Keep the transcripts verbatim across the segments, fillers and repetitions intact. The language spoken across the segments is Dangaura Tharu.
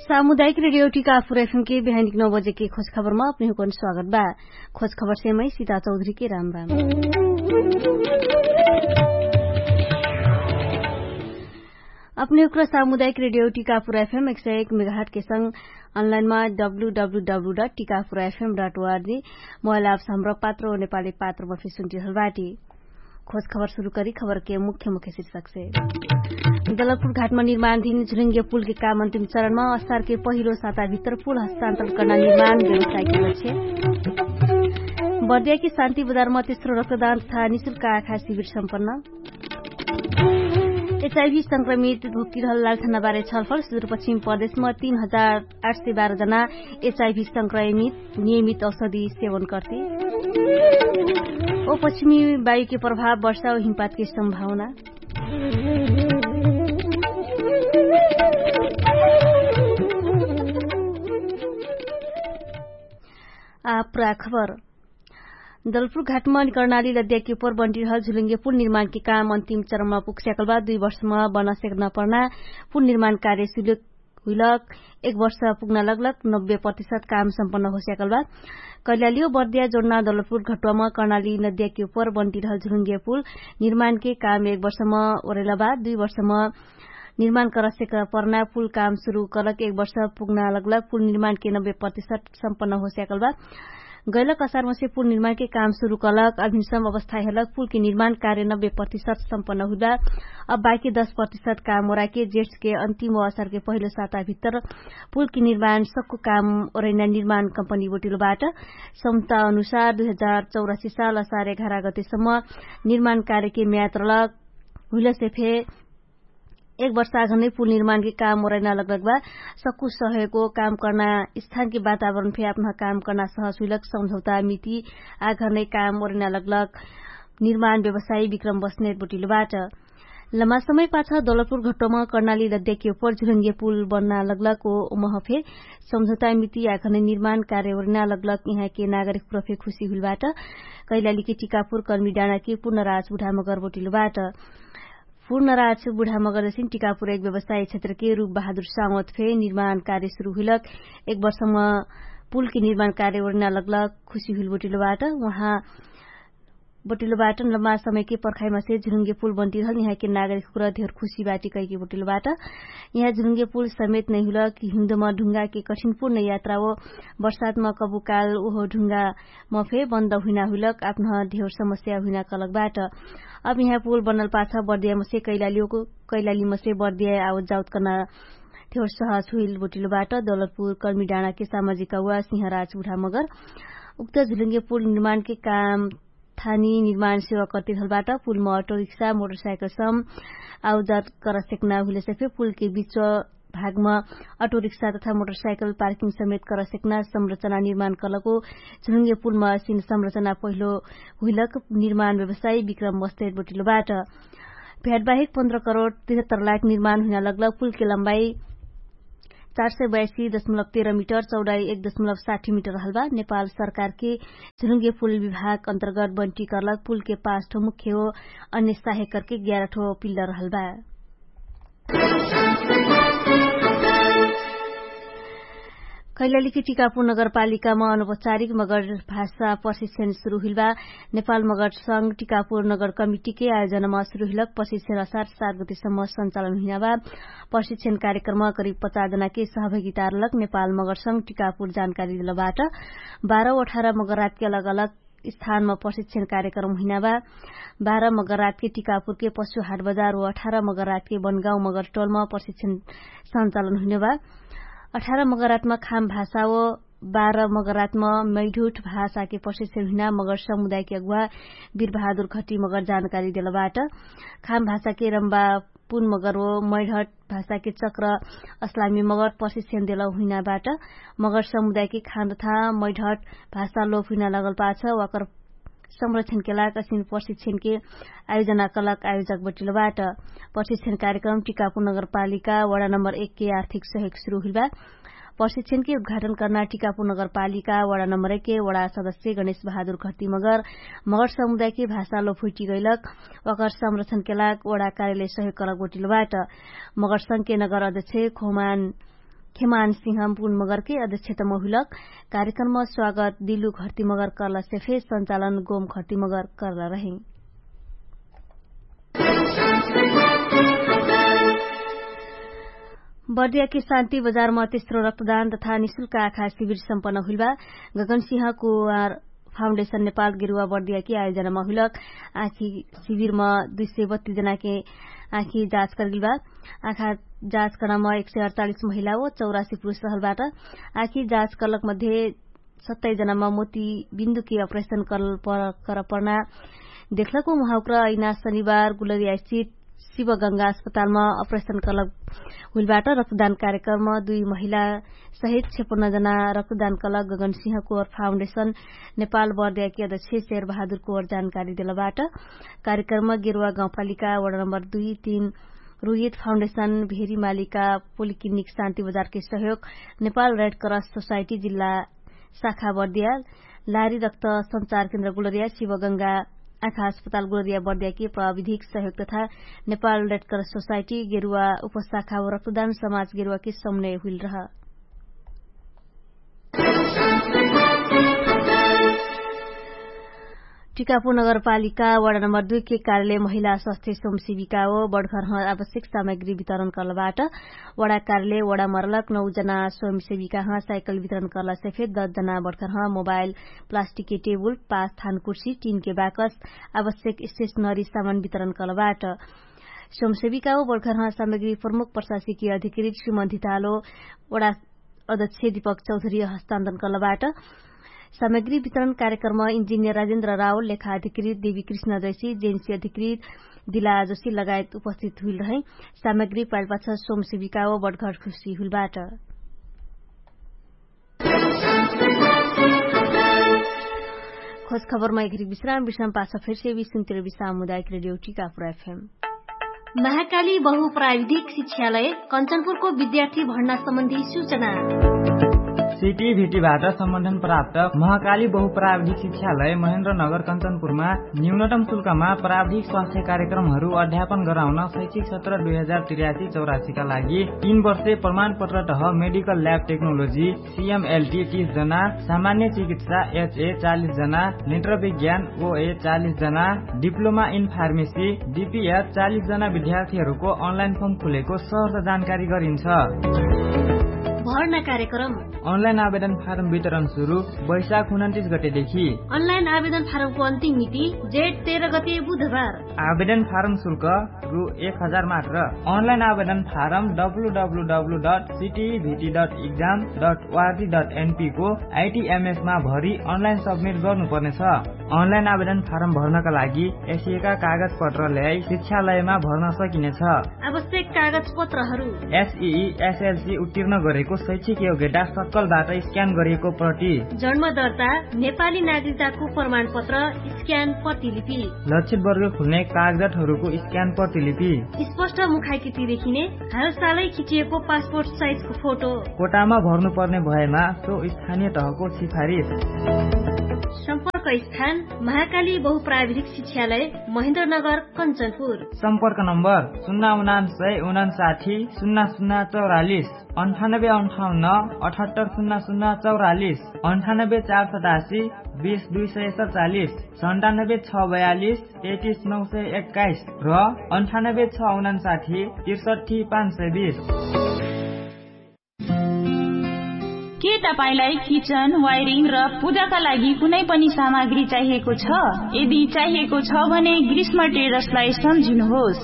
सामुदायिक रेडियो टिकापुर एफएम के बिहानीक नौ बजे के खोज खबरमा अपने हुकन स्वागत बा। खोज खबर से मै सीता चौधरी के राम राम। अपने हुक्र सामुदायिक रेडियो टिकापुर एफएम एक सय एक मेगाहट के संग अनलाइनमा W W W dot Tikapur FM dot ORG mobile apps Hamro Patro नेपाली पात्र बफी सुन्टिहल बाटी। खोज खबर सुरु करी खबर के मुख्य मुख्य शीर्षक से। दलपुर घाटमा निर्माणधीन झुलिङ्गे पुलके काम अन्तिम चरणमा असारके पहिलो साताभित्र पुल हस्तान्तरण कर्ना निर्माण व्यवसायके लक्ष्य। बर्दियाके शान्ति बजारमा तेस्रो रक्तदान तथा निशुल्क आँखा शिविर सम्पन्न। एचआइभी संक्रमित भोक्टिरहल लालठानाबारे छलफल सुदूरपश्चिम प्रदेशमा तीन हजार आठ सय बाह्र जना एचआइभी संक्रमित नियमित औषधि सेवन कर्ते। ओ पश्चिमी वायुके प्रभाव वर्षा ओ हिमपातके सम्भावना। आ पुरा खबर। दलपुर घाटमा कर्णाली लद्याके उपर बन्टिरहल झुलुङ्गे पुल निर्माणके काम अन्तिम चरणमा पुग्स्याकल बा। दुई वर्षमा बनस्याक नपर्ना पुल निर्माण कार्य सुलुक हुइलक एक वर्ष पुग्ना लगलक नब्बे प्रतिशत काम सम्पन्न होस्याकल बा। कैलाली ओ बर्दिया जोड्ना दलपुर घटुवामा कर्णाली नद्याके उपर बन्टिरहल झुलुङ्गे पुल निर्माणके काम एक वर्षमा ओरेला बा। दुई वर्षमा निर्माण करस्याक पर्ना पुल काम सुरु कलक एक वर्ष पुग्ना लगलक पुल निर्माणके नब्बे प्रतिशत सम्पन्न होस्याकल बा। गैलक असारमसे पुल निर्माणके काम सुरु कलक अभिनसम अवस्था हेलक पुलके निर्माण कार्य नब्बे प्रतिशत सम्पन्न हुइबा। अब बाकी दस प्रतिशत काम ओराके जेठके अन्तिम असारके पहिलो साताभित्र पुलके निर्माण सक्कु काम ओरैना निर्माण कम्पनी बोटिलो बाट। सम्ता अनुसार दुई हजार चौरासी साल असार एघार गतेसम्म निर्माण कार्यके म्याद रलक हुइलसे फे एक वर्ष आघनै पुल निर्माणके काम ओरैना लगलक बा। सक्कु सहयोगको काम कर्ना स्थानके वातावरण फे अपना काम कर्ना सहस हुइलक सम्झौता मिति आघनै काम ओरैना लगलक निर्माण व्यवसायी विक्रम बस्नेत बोटिलो बाट। लमा समय पाछ दौलतपुर घट्टोमा कर्णाली लद्याके उपर झुलुङ्गे पुल बन्ना लगलक ओ उमह फे सम्झौता मिति आघनै निर्माण कार्य ओरैना लगलक यहाँके नागरिक प्रफे खुशी हुइल बाट। कैलालीके टिकापुर कर्मी डाँडाके पुनराज बुढामगर बोटिलो बाट। पुनराज बुढामगर जसिन टिकापुर एक व्यवसाय क्षेत्रके रूप बहादुर सावत फे निर्माण कार्य सुरु हुइलक एक वर्षमा पुलके निर्माण कार्य ओरैना लगलक खुशी हुइल बोटिलो बाट। उहाँ बटिलो बाटन लम्बा समयके पर्खाइमासे झुरुङ्गे पुल बन्टिरहल यहाँके नागरिक हुक्र धेर खुशी बाटी कैके बटिलो बाट। यहाँ झुरुङ्गे पुल समेत नैहुल कि हिउँदमा ढुङ्गाके कठिनपुर्ण यात्रा ओ बर्सातमा कबुकाल ओहो ढुङ्गा मफे बन्द हुइना हुइलक आप्न धेर समस्या हुइना कलक बाट। अब यहाँ पुल बन्नल पाछ बर्दियामसे कैलालीमसे बर्दिया आवत जाउत कर्ना धेर सहस हुइल बटिलो बाट। दौलतपुर कर्मी डाँडाके सामाजिक अगुवा सिंहराज बुढामगर उक्त झुरुङ्गे पुल निर्माणके काम थानी निर्माण सेवा कर्तिरहलबाट पुलमा अटोरिक्सा मोटरसाइकल सम आउजात करसेक्ना हुइलसे फे पुलके बिच भागमा अटोरिक्सा तथा मोटरसाइकल पार्किङ समेत करसेक्ना संरचना निर्माण कलको झुलुङ्गे पुलमा सिन संरचना पहिलो हुइलक निर्माण व्यवसायी विक्रम बस्तेट बोटिलोबाट। भ्याटबाहेक पन्ध्र करोड तिहत्तर लाख निर्माण हुइना लगलक पुलके लम्बाई चार सय बयासी दशमलब तेह्र मिटर चौडाई एक दशमलब साठी मिटर हलबा। नेपाल सरकारके झुरुङ्गे पुल विभाग अन्तर्गत बन्टी कर्लक पुलके पाँच ठो मुख्य हो। अन्य साहेकरके ग्यार ठो पिल्लर हलबा। कैलालीके टिकापुर नगरपालिकामा अनौपचारिक मगर भाषा प्रशिक्षण सुरु हुइलबा। नेपाल मगर संग टिकापुर नगर कमिटीके आयोजनमा सुरु हुइलक प्रशिक्षण असार सात गतिसम्म सञ्चालन हुइनाबा। प्रशिक्षण कार्यक्रममा करिब पचास जनाके सहभागिता रहलक नेपाल मगर संग टिकापुर जानकारी देलबाट। बाह्र अठार मगर रातके अलग अलग स्थानमा प्रशिक्षण कार्यक्रम हुइनाबा। बाह्र मगर रातके टिकापुरके पशु हाट बजार व अठार मगर रातके बनगाउँ मगर टोलमा प्रशिक्षण सञ्चालन हुइनाबा। अठार मगर रातमा खाम भाषा व बाह्र मगर रातमा मैढुट भाषाके प्रशिक्षण हुइना मगर समुदायके अगुवा बिरबहादुर घटी मगर जानकारी देलबाट। खाम भाषाके रम्बा पुन मगर व मैढट भाषाके चक्र अस्लामी मगर प्रशिक्षण देल हुइनाबाट। मगर समुदायके खान तथा मैढट भाषा लोप हुइना लगल पाछ वाकर संरक्षणके लाग असिन प्रशिक्षणके आयोजना कलक आयोजक बटिलोबाट। प्रशिक्षण कार्यक्रम टिकापुर नगरपालिका वडा नम्बर एकके आर्थिक सहयोग सुरु हुइलबा। प्रशिक्षणके उद्घाटन कर्ना टिकापुर नगरपालिका वडा नम्बर एकके वडा सदस्य गणेश बहादुर घटी मगर मगर समुदायके भाषा लोप हुइटी गैलक वाकर संरक्षणके लाग वडा कार्यालय सहयोग कलक बटिलोबाट। मगर संघके नगर अध्यक्ष खोमान खेमान सिंह बुन मगरके अध्यक्षतम हुइलक। कार्यक्रममा स्वागत दिलु घर्ति मगर कर्लासे फे सञ्चालन गोम घर्ति मगर कर्ला रहे। बर्दियाकी शान्ति बजारमा तेस्रो रक्तदान तथा निशुल्क आखा शिविर सम्पन्न हुइलबा। गगनसिंह कुवार फाउन्डेशन नेपाल गेरुवा बर्दियाकी आयोजनामा हुइलक। आखी शिविरमा दुई सय बत्तीस जनाके आखी जाँच करगिलबा। आखा जाँच करम एक सय अडचालिस महिला ओ चौरासी पुरुष रहलबाट। आखी जाँच करलक मध्ये सत्ताइस जनामा मोती बिन्दुके अपरेशन करल पर करपर्ना देखलक। उहाँ उक्र अइना शनिबार गुलरिया स्थित शिवगङ्गा अस्पतालमा अपरेशन करलक हुइलबाट। रक्तदान कार्यक्रममा दुई महिला सहित छेपन्न जना रक्तदान करलक। गगनसिंह कोर फाउन्डेशन नेपाल बर्दियाकी अध्यक्ष शेर बहादुर कोर जानकारी देलबाट। कार्यक्रममा गेरुवा गाउँपालिका वडा नम्बर दुई तीन रोहित फाउन्डेशन भेरी मालिका पोलिक्लिनिक शान्ति बजारके सहयोग नेपाल रेड क्रस सोसाइटी जिल्ला शाखा बर्दिया लारी रक्त सञ्चार केन्द्र गुलरिया शिवगङ्गा आँखा अस्पताल गुलरिया बर्दियाके प्राविधिक सहयोग तथा नेपाल रेड क्रस सोसाइटी गेरुवा उपशाखा व रक्तदान समाज गेरुवाके समन्वय हुइल रह। टिकापुर नगरपालिका वडा नम्बर दुई के कार्यालय महिला स्वास्थ्य स्वयंसेविका ओ बडघर ह आवश्यक सामग्री वितरण करलबाट। वडा कार्यालय वडा मरलक नौ जना स्वयंसेविका ह साइकल वितरण करलासे फेर दस जना बडघर ह मोबाइल प्लास्टिक के टेबुल पाँच थान कुर्सी टिन के बाकस आवश्यक स्टेशनरी सामान वितरण करलबाट। स्वयंसेविका ओ बडघर ह सामग्री प्रमुख प्रशासकीय अधिकृत श्रीमन्त धितालो वडा अध्यक्ष दीपक चौधरी हस्तान्तरण करलबाट। सामग्री वितरण कार्यक्रम इन्जिनियर राजेन्द्र राव लेखा अधिकृत देवी कृष्ण जैसी जेन्सी अधिकृत दिला जोशी लगायत उपस्थित हुइल रहै। सामग्री पाइलपाछ स्वयंसेविका ओ बडघर खुसी हुइलबाट। खोज खबरमा एकरी विश्राम विश्राम पाछ फेरसे विश्राम सामुदायिक रेडियो टिकापुर एफएम। महाकाली बहुप्राविधिक शिक्षालय कञ्चनपुरको विद्यार्थी भर्ना सम्बन्धी सूचना। सिटी भिटीबाट सम्बन्धन प्राप्त महाकाली बहुप्राविधिक शिक्षालय महेन्द्र नगर कञ्चनपुरमा न्यूनतम शुल्कमा प्राविधिक स्वास्थ्य कार्यक्रमहरू अध्यापन गराउन शैक्षिक सत्र दुई हजार त्रियासी चौरासीका लागि तीन वर्षे प्रमाणपत्र तह मेडिकल ल्याब टेक्नोलोजी सिएमएलटी तीस जना, सामान्य चिकित्सा एचए चालिस जना, नेत्र विज्ञान ओए चालिस जना, डिप्लोमा इन फार्मेसी डिपिएच चालिस जना विद्यार्थीहरूको अनलाइन फर्म खुलेको सहर जानकारी गरिन्छ। भर्ना कार्यक्रम। अनलाइन आवेदन फारम वितरण सुरु वैशाख उन्तिस गतेदेखि। अनलाइन आवेदन फारमको अन्तिम मिति जेठ तेह्र गते बुधबार। आवेदन फारम शुल्क रु एक हजार मात्र। अनलाइन आवेदन form W W W dot CTEVT dot exam dot वार्टी डट एनपीको आइटिएमएसमा भरि अनलाइन सब्मिट गर्नुपर्नेछ। अनलाइन आवेदन फारम भर्नका लागि एसिएका कागजपत्र ल्याई शिक्षालयमा भर्न सकिनेछ। आवश्यक कागजपत्रहरू। एसई एसएलसी उत्तीर्ण गरेको शैक्षिक योग्यता सक्कलबाट स्क्यान गरिएको प्रति। जन्म दर्ता नेपाली नागरिकताको प्रमाणपत्र स्क्यान प्रतिलिपि। लक्षित वर्ग खुल्ने कागजातहरूको स्क्यान प्रतिलिपि। स्पष्ट मुखाइकिति देखिने हालसालै खिचिएको पासपोर्ट साइजको फोटो। कोटामा भर्नुपर्ने भएमा सो स्थानीय तहको सिफारिस। सम्पर्क स्थान महाकाली बहुप्राविधिक शिक्षालय महेन्द्रनगर कञ्चनपुर। सम्पर्क नम्बर शून्य उनान्सय उनान्साठी शून्य शून्य चौरालिस। अन्ठानब्बे अन्ठाउन्न अठहत्तर शून्य शून्य चौरालिस। अन्ठानब्बे चार सतासी बिस दुई सय सतचालिस। सन्तानब्बे छ बयालिस तेतिस नौ सय एक्काइस र अन्ठानब्बे छ उनान्साठी त्रिसठी पाँच सय बिस। के तपाईंलाई किचन वायरिङ र पूजाका लागि कुनै पनि सामग्री चाहिएको छ? यदि चाहिएको छ भने ग्रीष्म ट्रेडर्सलाई सम्झिनुहोस्।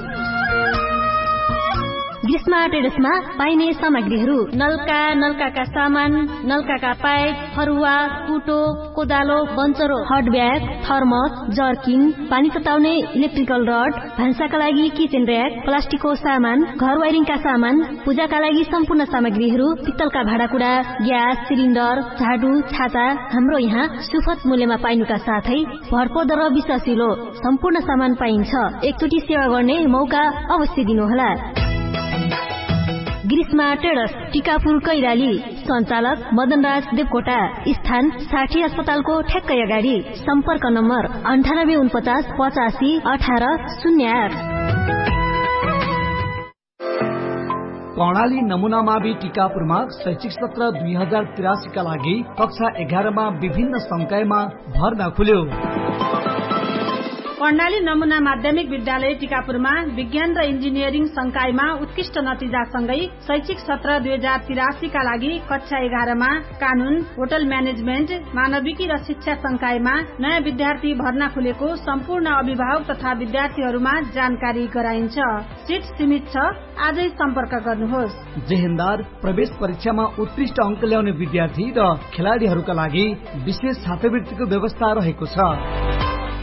ग्रीष्म ट्रेडर्समा पाइने सामग्रीहरू नल्का नल्काका सामान, नल्काका पाइप, फरुवा, कुटो, कोदालो, बन्चरो, हट ब्याग, थर्मस, जर्किन, पानी सताउने इलेक्ट्रिकल रड, भान्साका लागि किचेन र्याक, प्लास्टिकको सामान, घर वायरिङका सामान, पूजाका लागि सम्पूर्ण सामग्रीहरू पित्तलका भाँडाकुडा, ग्यास सिलिन्डर, झाडु, छाता, हाम्रो यहाँ सुफत मूल्यमा पाइनुका साथै भरपर्दो र विश्वासिलो सम्पूर्ण सामान पाइन्छ। एकचोटि सेवा गर्ने मौका अवश्य दिनुहोला। ग्रीष्मा ट्रेडर्स, टिकापुर कैराली। सञ्चालक मदनराज देवकोटा। स्थान साठी अस्पतालको ठ्याक्कै अगाडि। सम्पर्क नम्बर अन्ठानब्बे उनपचास पचासी अठार शून्य आठ। कर्णाली नमुनामा बि टिकापुरमा शैक्षिक सत्र दुई हजार तिरासी का लागि कक्षा एघारमा विभिन्न संकायमा भर्ना खुल्यो। कर्णाली नमुना माध्यमिक विद्यालय टिकापुरमा विज्ञान र इन्जिनियरिङ संकायमा उत्कृष्ट नतिजासँगै शैक्षिक सत्र दुई हजार तिरासी का लागि कक्षा एघारमा कानुन, होटल म्यानेजमेन्ट, मानविकी र शिक्षा संकायमा नयाँ विद्यार्थी भर्ना खुलेको सम्पूर्ण अभिभावक तथा विद्यार्थीहरूमा जानकारी गराइन्छ। सिट सीमित छ। आजै सम्पर्क गर्नुहोस्। जेहेन्दार प्रवेश परीक्षामा उत्कृष्ट अङ्क ल्याउने विद्यार्थी र खेलाडीहरूका लागि विशेष छात्रवृत्तिको व्यवस्था रहेको छ।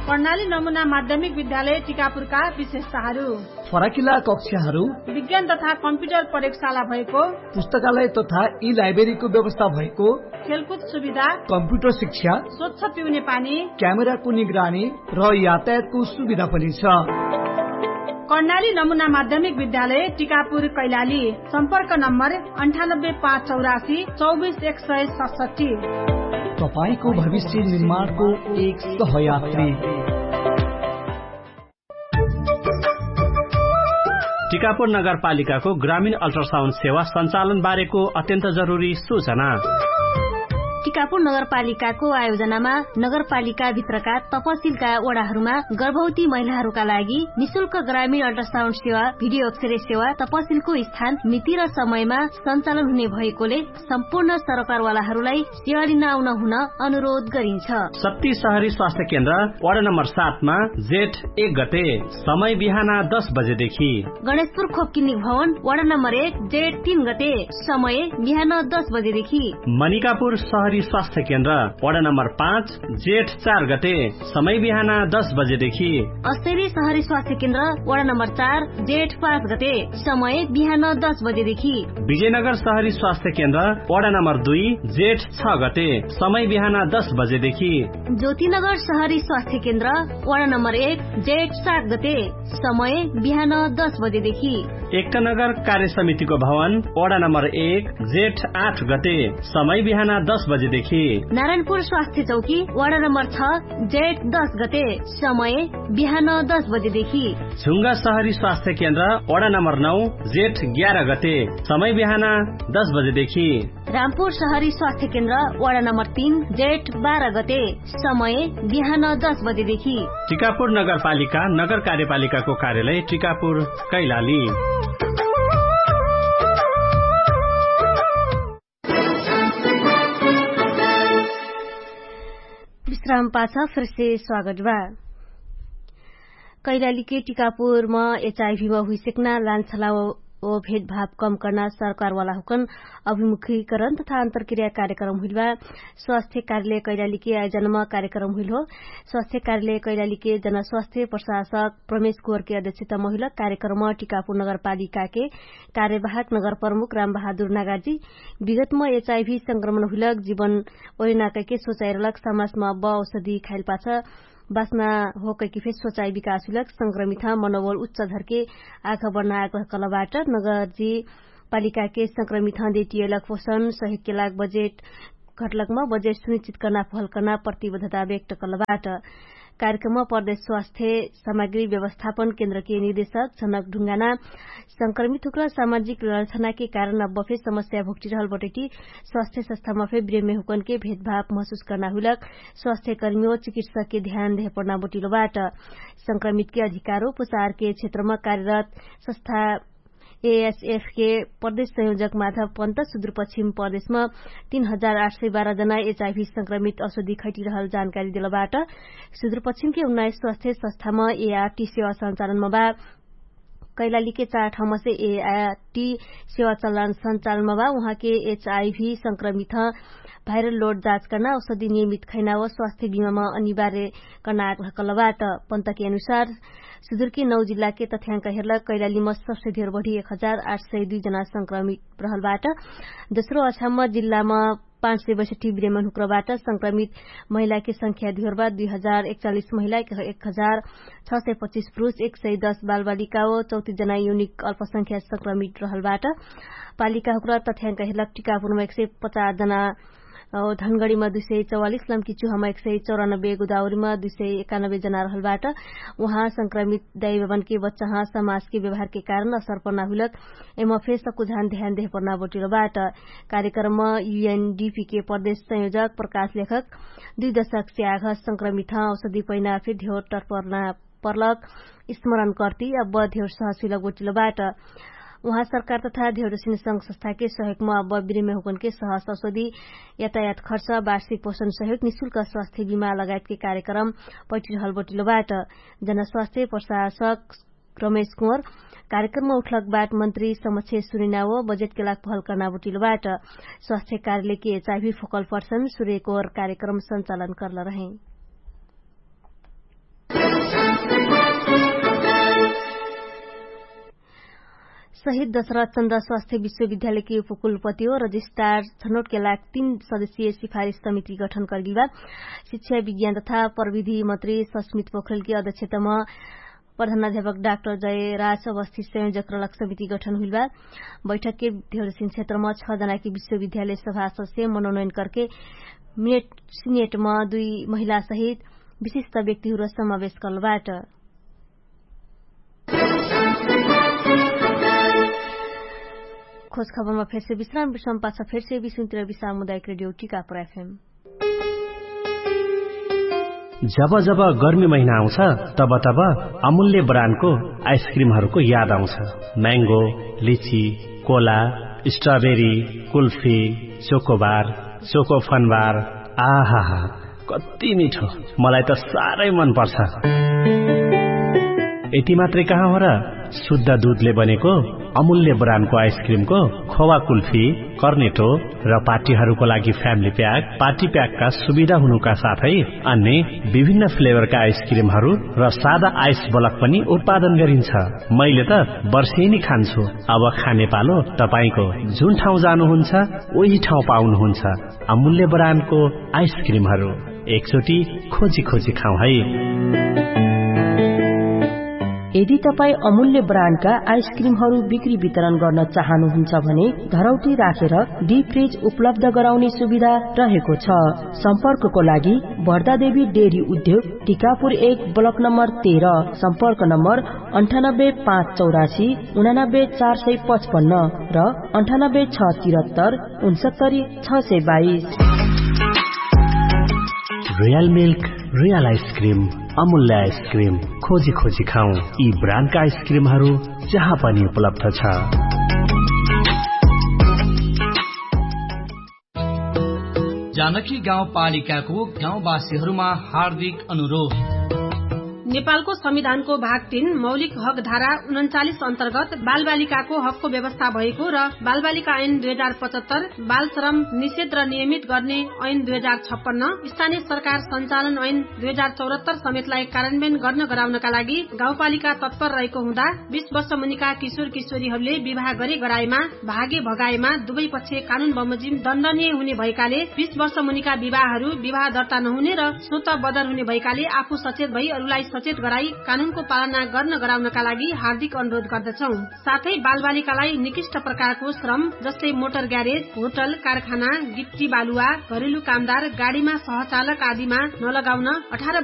कर्णाली नमुना माध्यमिक विद्यालय टिकापुरका विशेषताहरू। फराकिला कक्षाहरू। विज्ञान तथा कम्प्युटर प्रयोगशाला भएको। पुस्तकालय तथा ई लाइब्रेरीको व्यवस्था भएको। खेलकुद सुविधा। कम्प्युटर शिक्षा। स्वच्छ पिउने पानी। क्यामेराको निगरानी र यातायातको सुविधा पनि छ। कर्णाली नमुना माध्यमिक विद्यालय टिकापुर कैलाली। सम्पर्क नम्बर अन्ठानब्बे पाँच चौरासी चौबिस एक सय सतसट्ठी। तपाईंको भविष्य निर्माणको एक सहयात्री। टिकापुर नगरपालिकाको ग्रामीण अल्ट्रासाउन्ड सेवा सञ्चालन बारेको अत्यन्त जरुरी सूचना। टिकापुर नगरपालिकाको आयोजनामा नगरपालिकाभित्रका तपसिलका वडाहरूमा गर्भवती महिलाहरूका लागि निशुल्क ग्रामीण अल्ट्रासाउन्ड सेवा, भिडियो अक्षरे सेवा, तपसिलको स्थान, मिति र समयमा सञ्चालन हुने भएकोले सम्पूर्ण सरकारवालाहरूलाई सेवा लिन आउन हुन अनुरोध गरिन्छ। शक्ति सहरी स्वास्थ्य केन्द्र वडा नम्बर सातमा जेठ एक गते, समय बिहान दस बजेदेखि। गणेशपुर खोपकिनिक भवन वडा नम्बर एक जेठ तीन गते, समय बिहान दस बजेदेखि। मनिकापुर सहरी स्वास्थ्य केन्द्र वडा नम्बर पाँच जेठ चार गते, समय बिहान दस बजेदेखि। असेरी सहरी स्वास्थ्य केन्द्र वडा नम्बर चार जेठ पाँच गते, समय बिहान दस बजेदेखि। विजयनगर सहरी स्वास्थ्य केन्द्र वडा नम्बर दुई जेठ छ गते, समय बिहान दस बजेदेखि। ज्योतिनगर सहरी स्वास्थ्य केन्द्र वडा नम्बर एक जेठ सात गते, समय बिहान दस बजेदेखि। एकनगर कार्य समितिको भवन वडा नम्बर एक जेठ आठ गते, समय बिहान दस बजेदेखि। नारायणपुर स्वास्थ्य चौकी वडा नम्बर छ जेठ दस गते, समय बिहान दस बजेदेखि। झुङ्गा सहरी स्वास्थ्य केन्द्र वडा नम्बर नौ जेठ ग्यार गते, समय बिहान दस बजेदेखि। रामपुर सहरी स्वास्थ्य केन्द्र वडा नम्बर तीन जेठ बार गते, समय बिहान दस बजेदेखि। टिकापुर नगरपालिका नगर कार्यपालिकाको कार्यालय टिकापुर कैलाली। विश्राम पाछ फिरसे स्वागत बा। कैलालीके टिकापुरमा एचआइभीमा हुइसेक्ना लान्छला ओ भेदभाव कम कर्ना सरकारवाला हुकन अभिमुखीकरण तथा अन्तरक्रिया कार्यक्रम हुइलबा। स्वास्थ्य कार्यालय कैलालीके आयोजनमा कार्यक्रम हुइल हो। स्वास्थ्य कार्यालय कैलालीके जनस्वास्थ्य प्रशासक प्रमेश गोरके अध्यक्षतमा हुइल। कार्यक्रम टिकापुर नगरपालिकाके कार्यवाहक नगरप्रमुख रामबहादुर नागाजी विगतमा एचआइभी संक्रमण हुइलक जीवन ओइनाकैके सोचाइरलक समाजमा ब औषधी खाइलपाछ बास्ना होकैके फेर सोचाइ विकास हुइलक संक्रमित मनोबल उच्च धरके आखा बढ्ना आग्रह कलबाट। नगरजी पालिकाके संक्रमित हँदे टिएलक पोषण सहितके लाग बजेट घटलकमा बजेट सुनिश्चित कर्ना फहल कर्ना प्रतिबद्धता व्यक्त कलबाट। कार्यक्रममा प्रदेश स्वास्थ्य सामग्री व्यवस्थापन केन्द्रके निर्देशक झनक ढुङ्गाना संक्रमित हुक्र सामाजिक लक्षणाके कारण अब्बफे समस्या भुक्टिरहल बटैटी स्वास्थ्य सस्थामा फे ब्रेमे हुकनके भेदभाव महसुस कर्ना हुइलक स्वास्थ्यकर्मी ओ चिकित्सकके ध्यान देहपर्ना बटिलोबाट। संक्रमितके अधिकारो पुसारके क्षेत्रमा कार्यरत सस्था एएसएफके प्रदेश संयोजक माधव पन्त सुदुरपश्चिम प्रदेशमा तीन हजार आठ सय बाह्र जना एचआइभी संक्रमित औषधी खैटिरहल जानकारी देलबाट। सुदुरपश्चिमके उन्नाइस स्वास्थ्य सस्थामा एआरटी सेवा सञ्चालनमा बा। कैलालीके चार ठाउँमा से एआरटी सेवा चलान सञ्चालनमा बा उहाँके एचआइभी संक्रमित भाइरल लोड जाँच कर्ना औषधी नियमित खैना व स्वास्थ्य बिमामा अनिवार्य कर्ना आग्रह कलबाट। पन्तके अनुसार सुदुरके नौ जिल्लाके तथ्याङ्क हेर्लक कैलालीमा सबसे धेर बढी एक हजार आठ सय दुई जना संक्रमित रहलबाट। दोस्रो अछाममा जिल्लामा पाँच सय बैसठी ब्रेमन हुक्रबाट संक्रमित महिलाके संख्या धियोरबा दुई हजार एकचालिस महिला एक हजार छ सय पच्चिस पुरुष एक सय दस बालबालिका ओ चौतिस जना युनिक अल्पसंख्या संक्रमित रहलबाट। पालिका हुक्र तथ्याङ्क हेर्लक टिकापुरमा एक सय पचास जना धनगढीमा दुई सय चौवालिस लम्की चुहामा एक सय चौरानब्बे गोदावरीमा दुई सय एकानब्बे जना रहलबाट। उहाँ संक्रमित दाइबाबनके बच्चाह समाजके व्यवहारके कारण असर पर्ना हुइलक। एम फेर सकुझान ध्यान देह पर्ना बटिलोबाट। कार्यक्रममा युएनडिपीके प्रदेश संयोजक प्रकाश लेखक दुई दशकसे आघ संक्रमित औषधि पैना फिर ध्यौर टर्पर्ना पर्लक स्मरण कर्ति अब ध्यौर सहज हुइलक बटिलोबाट। उहाँ सरकार तथा ध्यौर सिन संघ संस्थाके सहयोगमा अब बिरेमे हुकनके सहज औषधि यातायात खर्च वार्षिक पोषण सहयोग निशुल्क स्वास्थ्य बिमा लगायतके कार्यक्रम पैटिरहल बटिलोबाट। जनस्वास्थ्य प्रशासक रमेश कुँवर कार्यक्रममा उठलकबाट मन्त्री समक्ष सुनिनाओ बजेटके लाग पहल कर्ना बटिलोबाट। स्वास्थ्य कार्यालयके चाही फोकल पर्सन सुरेकोर कार्यक्रम सञ्चालन कर्ल रहे। शहीद दशरथ चन्द्र स्वास्थ्य विश्वविद्यालयके उपकुलपति हो रजिस्ट्रार छनौटके लाग तीन सदस्यीय सिफारिस समिति गठन कर्गिल बा। शिक्षा विज्ञान तथा प्रविधि मन्त्री सस्मित पोखरेलके अध्यक्षतम प्रधानाध्यापक डाक्टर जयराज अवस्थी संयोजक रलक समिति गठन हुइल बा। बैठकके ध्यौरसिन क्षेत्रमा छ जनाके विश्वविद्यालय सभासदसे मनोनयन करके मिनेट सिनेटमा दुई महिला सहित विशिष्ट व्यक्तिहुर समावेश कर्लबाट। खोज खबरमा फेरसे विश्राम विश्राम पाछ फेरसे विश्वतिर विश्राम मुदायक रेडियो टिका प्रफेम। जब जब गर्मी महिना आउँछ, तब तब अमूल्य ब्रान्डको आइसक्रिमहरूको याद आउँछ। म्याङ्गो, लिची, Cola, strawberry, kulfi, chocobar, choco Fun Bar, आहाहा, कति मिठो। मलाई त साह्रै मन पर्छ। यति मात्रै कहाँ हो र, शुद्ध दुधले बनेको अमूल्य ब्रान्डको आइसक्रिमको खोवा कुल्फी, कर्नेटो र पार्टीहरूको लागि फ्यामिली प्याक, पार्टी प्याकका सुविधा हुनुका साथै अन्य विभिन्न फ्लेभरका आइसक्रिमहरू र सादा आइस बलक पनि उत्पादन गरिन्छ। मैले त वर्षेनी खान्छु। अब खाने पालो तपाईंको। जुन ठाउँ जानुहुन्छ, उही ठाउँ पाउनुहुन्छ अमूल्य ब्रान्डको आइसक्रिमहरू। एकचोटि खोजी खोजी खाउँ है। यदि तपाईं अमूल्य ब्रान्डका आइसक्रिमहरू बिक्री वितरण गर्न चाहनुहुन्छ भने धरौटी राखेर डिप फ्रिज उपलब्ध गराउने सुविधा रहेको छ। सम्पर्कको लागि भर्दादेवी डेरी उद्योग, टिकापुर एक, ब्लक नम्बर तेह्र। सम्पर्क नम्बर अन्ठानब्बे पाँच चौरासी उनानब्बे चार सय पचपन्न र अन्ठानब्बे छ तिरत्तर उनसत्तरी छ सय बाइस। रियल मिल्क, रियल आइसक्रिम, अमूल्य आइसक्रिम, खोजी खोजी खाउँ। यी ब्रान्डका आइसक्रिमहरू जहाँ पनि उपलब्ध छ। जानकी गाउँपालिकाको गाउँवासीहरूमा हार्दिक अनुरोध। नेपालको संविधानको भाग तीन मौलिक हक धारा उनन्चालिस अन्तर्गत बालबालिकाको हकको व्यवस्था भएको र बालबालिका ऐन दुई हजार पचहत्तर, बालश्रम निषेध र नियमित गर्ने ऐन दुई हजार छप्पन्न, स्थानीय सरकार सञ्चालन ऐन दुई हजार चौहत्तर समेतलाई कार्यान्वयन गर्न गराउनका लागि गाउँपालिका तत्पर रहेको हुँदा बिस वर्ष मुनिका किशोर किशोरीहरूले विवाह गरे गराएमा, भागे भगाएमा दुवै पक्ष कानुन बमोजिम दण्डनीय हुने भएकाले बिस वर्ष मुनिका विवाहहरू विवाह दर्ता नहुने र स्वत बदर हुने भएकाले आफू सचेत भई अरूलाई सचेत गराई कानुनको पालना गर्न गराउनका लागि हार्दिक अनुरोध गर्दछौँ। साथै बालबालिकालाई निकृष्ट प्रकारको श्रम जस्तै मोटर ग्यारेज, होटल, कारखाना, गिट्टी बालुवा, घरेलु कामदार, गाडीमा सहचालक आदिमा नलगाउन अठार